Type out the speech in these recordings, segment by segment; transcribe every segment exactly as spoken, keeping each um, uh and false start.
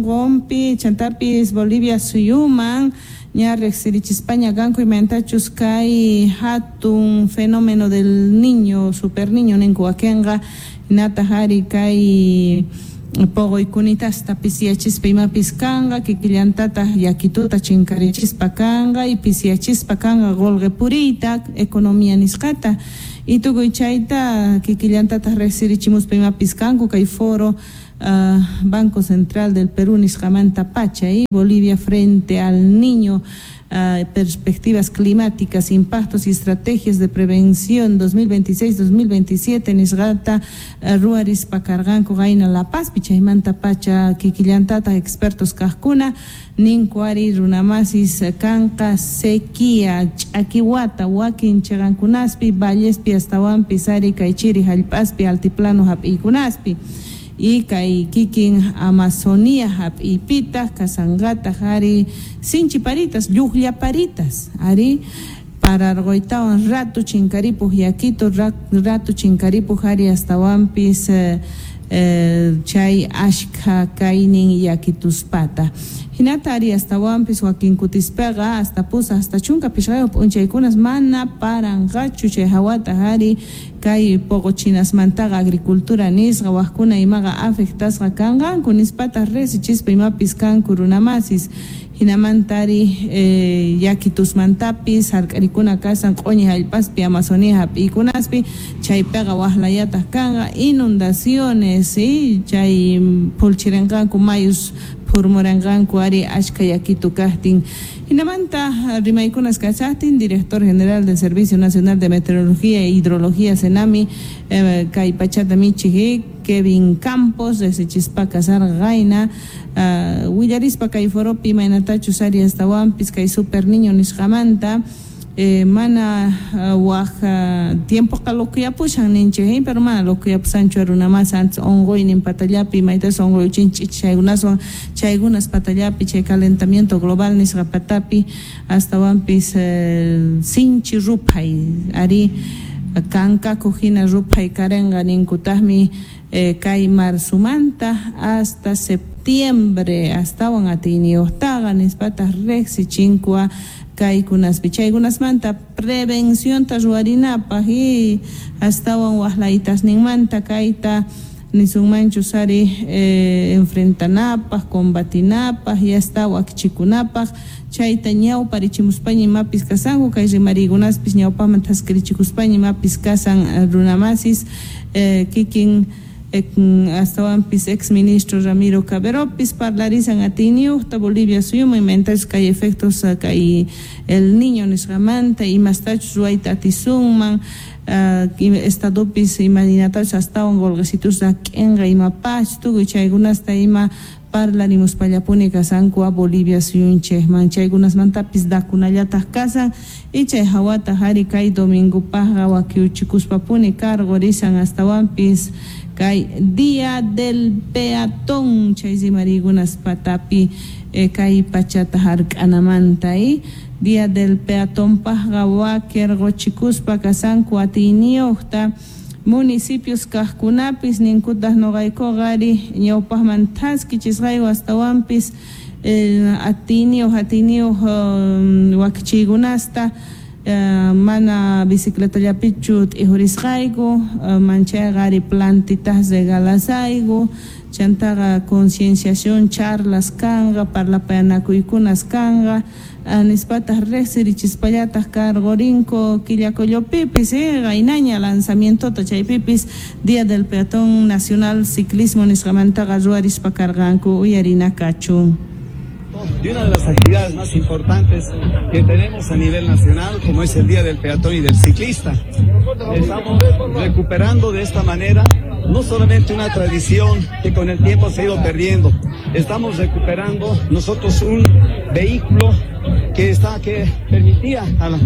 Sunqunpi chantapis Bolivia suyuman ña riqsirichispaña kanku imaynatachus kay hatun fenómeno del niño, super niño ninku wakinqa, hinataq ari kay poqoykunitasta pisiyachispa imapis kanqa, kikillantataq yakituta chinkarichispa kanqa y pisiyachispa kanqa qolqe puriyta, economía nisqata, y tukuy chayta kikillantataq riqsirichimuspa imapis kanku kay foro Uh, Banco Central del Perú nisqamanta pacha y Bolivia frente al niño, uh, perspectivas climáticas, impactos y estrategias de prevención dos mil veintiséis dos mil veintisiete nisqata uh, ruwarispa karqanku qayna La Pazpi chaymanta pacha kikillantata expertos kaqkuna ninku ari runamasis kanqa sequía ch'akiwata wakin chiqankunaspi vallespi astawanpis ari kay chiri hallp'aspi altiplano hap'iykunaspi y kay kikin Amazonía hap'iypitaq kasanqataq ari sinchiparitas lluqllaparitas ari pararquytawan ratu chinkaripuq yakitu ratu chinkaripuq ari astawanpis eh, eh, chay ashkha kaynin yakituspata hinata ari astawanpis wakinkutispaqa hasta pusa hasta chunka pishqayuq p'unchaykunas mana paranqachu chay hawataq ari kay poqochinasmantaqa agricultura nisqa waqkuna imaqa afectasqa kanqanku nispataq riqsichispa imapis kanku runamasis hinamanta ari eh, yakitusmantapis hark'arikuna kasan q'uñi hallp'aspi Amazonía hap'iykunaspi chaypiqa waqlayataq kanqa inundaciones y chay pulchirinqanku mayus phurmuranqanku ari ashka yakitu kaqtin. Hinamanta rimaykunas kachaqtin director general del Servicio Nacional de Meteorología e Hidrología Senami eh, kay pachata michij Kevin Campos riqsichispa sarqayna uh, willarispa kay foropi imaynatachus ari astawanpis kay super niño nisqamanta eh, mana uh, waj uh, tiempoqa lokuyapushan ninchik pero mana lokuyapusanchu runamasa antes unquynin patallapi maytas unquyuchinchik chaykunaswan chaykunas patallapi chay calentamiento global nisqa patapi astawanpis eh, sinchi ruphay ari kankaku hina ruphay karenqa ninkutaqmi eh, kay marzumanta hasta septiembre astawan atiyniyuqtaqa nispataq riqsichinkua kaykunaspi chaykunasmanta prevencionta ruwarinapaq y astawan waqlaytasninmanta kayta nisunmanchus ari eh, enfrentanapaq combatinapaq y hasta wakichikunapaq chayta ñawparichimuspaña imapis kasanku kay rimariykunaspis ñawpaqman thaskirichikuspaña imapis kasan runamasis eh, kikin astawanpis ex ministro Ramiro Caberopis parlarizan atiyniyuqta Bolivia suyuman imaynatachus kay efectos kay el niño nisqamanta imastachus ruwayta atisunman uh, estadopis imaynatachus astawan qolqesitus rak'inqa imapach tukuy chaykunasta ima parlarimuspallapuni kasanku a Bolivia suyunchikman chaykunasmantapis dakunallataq kasan y chay hawataq ari kay domingopaqqa wakiuchikuspapuni karqurisan astawanpis kay Día del Peatón chay rimariykunas patapi eh, kay pachata hark'anamanta y Día del Peatón paqqa wakirquchikuspa kasanku atiyniyuqta municipios kaqkunapis ninkutaq nuqaykuqa ari ñawpaqman thaskichisqayku astawanpis eh, atiyniyuq atiyniyuq um, wakichiykunasta Uh, mana bicicletallapichu t'ijurisqayku uh, manchayqa ari plantitas regalasayku chantaqa concienciación charlas kanqa parlapayanakuykunas kanqa uh, nispataq riqsirichispallataq karqurinku Quillacollopipis eh, qaynaña lanzamientota chaypipis Día del Peatón Nacional Ciclismo nisqamantaqa ruwarispa karqanku uyarinakachu. De una de las actividades más importantes que tenemos a nivel nacional, como es el Día del Peatón y del Ciclista. Estamos recuperando de esta manera no solamente una tradición que con el tiempo se ha ido perdiendo, estamos recuperando nosotros un vehículo que está, que permitía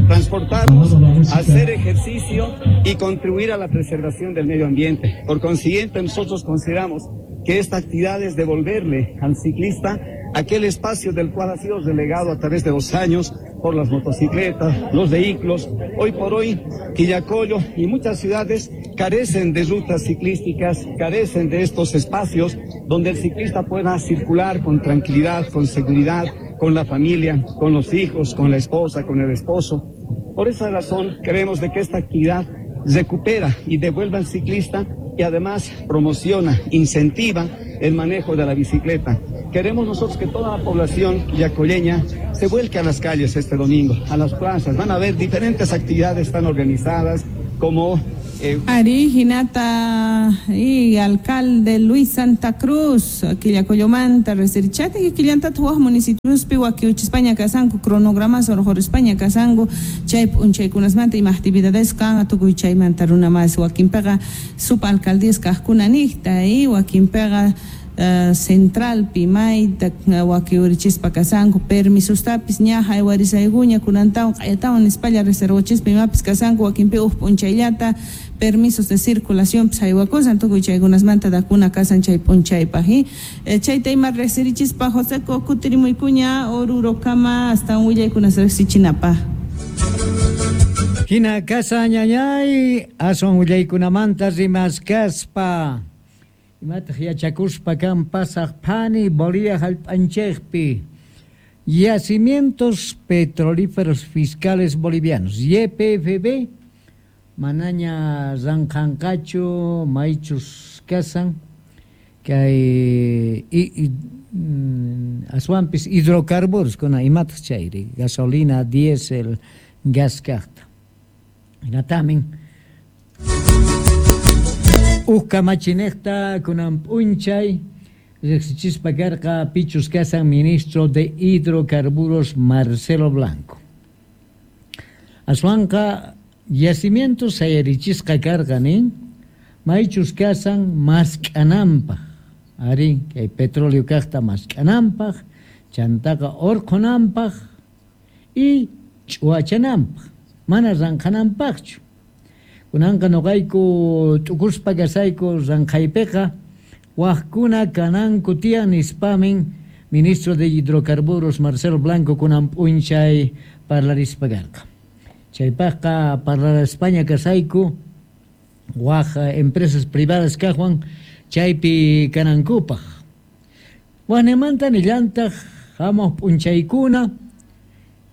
transportarnos, hacer ejercicio y contribuir a la preservación del medio ambiente. Por consiguiente, nosotros consideramos que esta actividad es devolverle al ciclista aquel espacio del cual ha sido relegado a través de los años por las motocicletas, los vehículos. Hoy por hoy, Quillacollo y muchas ciudades carecen de rutas ciclísticas, carecen de estos espacios donde el ciclista pueda circular con tranquilidad, con seguridad, con la familia, con los hijos, con la esposa, con el esposo. Por esa razón, creemos de que esta actividad recupera y devuelve al ciclista y además promociona, incentiva el manejo de la bicicleta. Queremos nosotros que toda la población quillacolleña se vuelque a las calles este domingo, a las plazas. Van a haber diferentes actividades tan organizadas como... Eh... Ari, hinata y alcalde Luis Santa Cruz, Quillacollomanta, resirichati, quillantata waj municipiospi wakiuchispaña kasanku, cronogramas orqhorispaña kasanku, chay p'unchaykunasmanta ima actividades kan tukuy chaymanta runa mas wakinpiqa subalcaldías kajkuna niqta y wakinpiqa Uh, centralpi mayta wakiurichispa kasanku permisostapis ña haywarisaykuña kunantawan q'ayatawan nispalla reservachispa imapis kasanku wakinpi uj p'unchayllata permisos de circulación pis haywakusan tukuy chaykunasmanta dakuna kasan chay p'unchaypaj eh, chayta ima resirichispa Joseco kutirimuykuña Orurokama hasta willaykunas riqsichinapaj. Hina kasa ñañay aswan willaykunamanta rimaskaspa imataq yachakuspa kan pasaq phani Bolivia hallp'anchikpi yacimientos petrolíferos fiscales bolivianos Y P F B manaña ranqanqachu maychus kasan kay y, y, aswanpis hidrocarburos kuna imataq chayri gasolina, diésel, gas kaqta hinatamin uj kamachinejta kunan p'unchay riqsichispa karqa pichus kasan ministro de hidrocarburos Marcelo Blanco. Aswanqa yacimientos sayarichisqa karqa nin maychus kasan mask'ananpaj ari kay petróleo kaqta mask'ananpaj chantaqa urqhunanpaj y ch'uwachananpaj mana ranqhananpaqchu. Kunanqa nuqayku t'ukuspa kasayku ranqhaypiqa wajkuna kananku tiyan nispamin ministro de hidrocarburos Marcelo Blanco kunan p'unchay parlarispa karqa. Chaypaqqa parlarispaña kasayku waj empresas privadas kaqwan chaypi kanankupaq. Wajnimanta nillantaq hamuq p'unchaykuna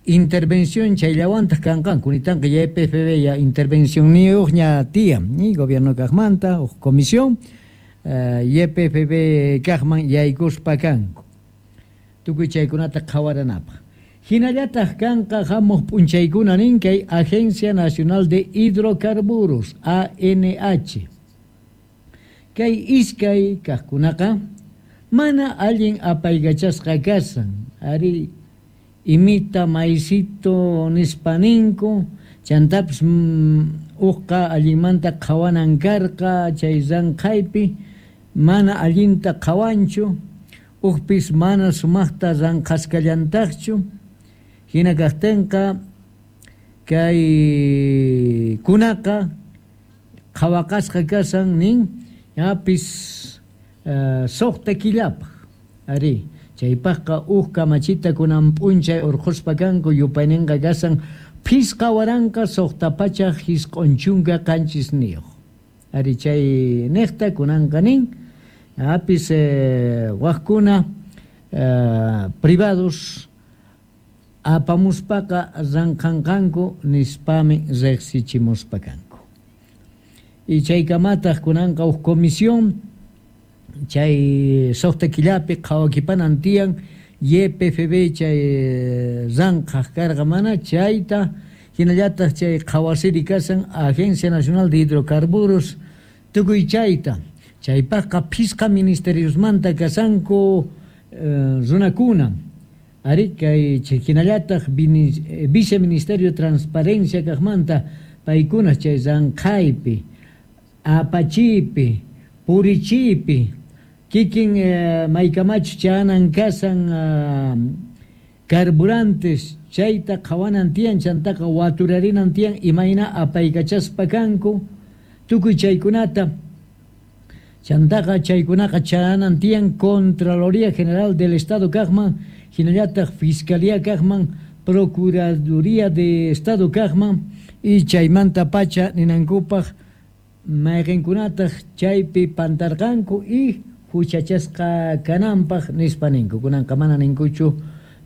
intervención chayllawantaq kanqanku nitanqa Y P F B ya intervención niyuqña tiyan ni gobierno kaqmanta uj comisión uh, Y P F B kaqman yaykuspa kanku tukuy chaykunata qhawaranapaq. Hinallataq kanqa hamuq p'unchaykuna nin kay Agencia Nacional de Hidrocarburos A N H kay iskay kaqkunaqa mana allin apaykachasqa kasan ari imita maicito nispaninku chantapis mm, uqqa allinmanta qhawanan karqa chay ranqhaypi mana allinta qhawanchu uqpis mana sumaqta ranqhasqallantaqchu hina kaqtinqa kay kunaqa qhawaqasqa kasan nin ñapis uh, suqta killapaq ari chaypaqqa uj kamachita kunan p'unchay urqhuspa kanku yupayninqa kasan phisqa waranqa suqta pachaq hisq'un chunka qanchisniyuq ari chay niqta kunanqa nin apis eh, wajkuna eh, privados apamuspaqa ranqhanqanku nispami riqsichimuspa kanku y chaykamataq kunanqa uj comisión chay suqta killapi qhawakipanan tiyan Y P F B chay ranqhaq karqa mana chayta hinallataq chay qhawasiri kasan Agencia Nacional de Hidrocarburos tukuy chayta chaypaqqa phisqa ministeriosmanta kasanku eh, runakuna ari kay hinallataq Viceministerio de Transparencia kaqmanta paykuna chay ranqhaypi apachipi purichipi kikin eh, maykamachu chanan kasan uh, carburantes chayta qhawanan tiyan chantaqa waturarinan tiyan imayna apaykachaspa kanku tukuy chaykunata chantaqa chaykunaqa chanan tiyan Contraloría General del Estado kaqman hinallataq Fiscalía kaqman Procuraduría de Estado kaqman y chaymanta pacha ninankupaq mayqinkunataq chaypi pantarqanku y huchachasqa kananpaq nispa ninku. Kunanqa mana ninkuchu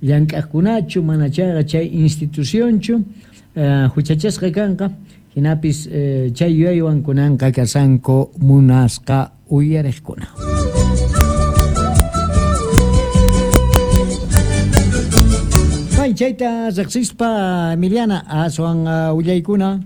llank'aqkunachu, mana chayqa chay institucionchu eh, huchachasqa kanqa, hinapis eh, chay yuyaywan kunanqa kashanku munasqa uyariqkuna. Chayta riqsispa Emiliana aswan uh, willaykuna.